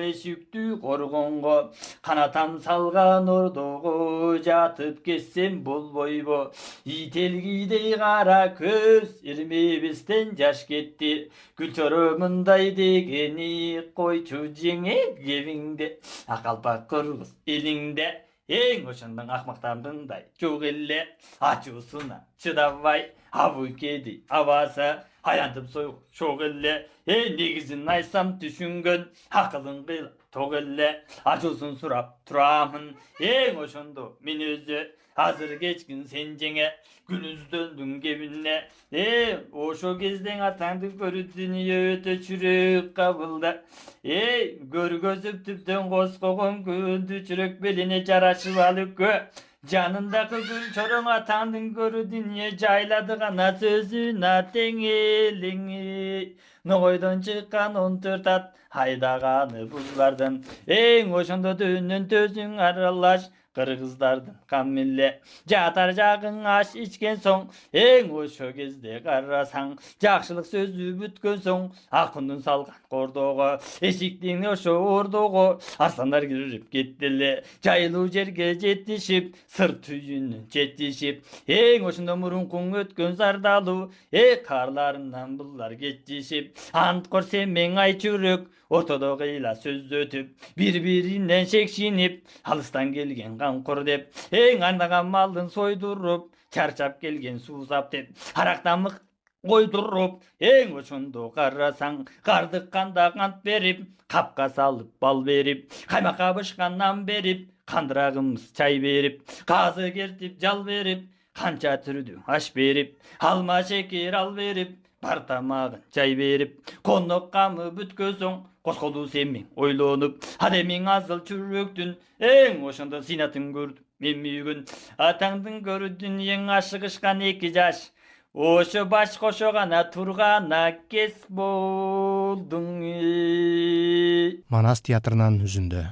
Эшиктүү коргонго канатам салган ордого жатып кетсем болбойбу. Ителгидей кара көз ирмебестен жаш кетти. Күлчөрө мындай дегени койчу жеңе кебиңде. Акалпак кыргыз элиңде. Эң ошондон акмактардындай жок эле. Ачуусуна чыдабай абыкеди абасы аянтып сойгу шок эле. Негизин айтсам түшүнгөн акылын кыйла ток эле. Ачуусун сурап турамын эң ошондо мен өзү. Азыр кечкин сен жеңе күнүздөндүң кебине. Ошо кезден атаңды көрүп дүнүйө өтө чүрөк кабылды. Көргөзүп түптөн коскогон күндү чүрөк белине жарашып алыккө. Жанындагы гүл чороң атаңдын көрү дүнүйө жайлады гана сөзүн атең элиңи. Ногойдон чыккан 14 ат айдаганы булбардым. Эң ошондо дөнөн төзүң аралаш кыргыздардын камилле. Жатар жагың аш ичкен соң эң ошо кезде карасаң жакшылык сөзү бүткөн соң акындын салган кордого эшиктин ошо ордого арсландар кирип кеттиле. Жайылуу жерге жетишип сыр түйүнүн четишип эң ошондо мурункуң өткөн зардалуу карларынан булар кетишип анткор семең ай чүрөк ортодо кыйла сөз өтүп бири-биринен шекшинип алыстан келген камкор деп эң андаган малдын сойдуруп чарчап келген суузап деп арактамык койдуруп эң ошондо карасаң кардыкканда кант берип капка салып бал берип каймакка бышкан нан берип кандырагымыз чай берип казы кертип жал берип канча түрдүү аш берип алма шекер ал берип бар тамагын жай берип конок камы бүткөн соң косколуу семең ойлонуп адемиң азыл чүрөктүн эң ошондо сыйнатын көрдүм мен бүгүн атаңдын көрү дүнүйөң ашыгышкан 2 жаш ошо баш кошо гана тургана кес болдуң. Манас театрынан үзүндү.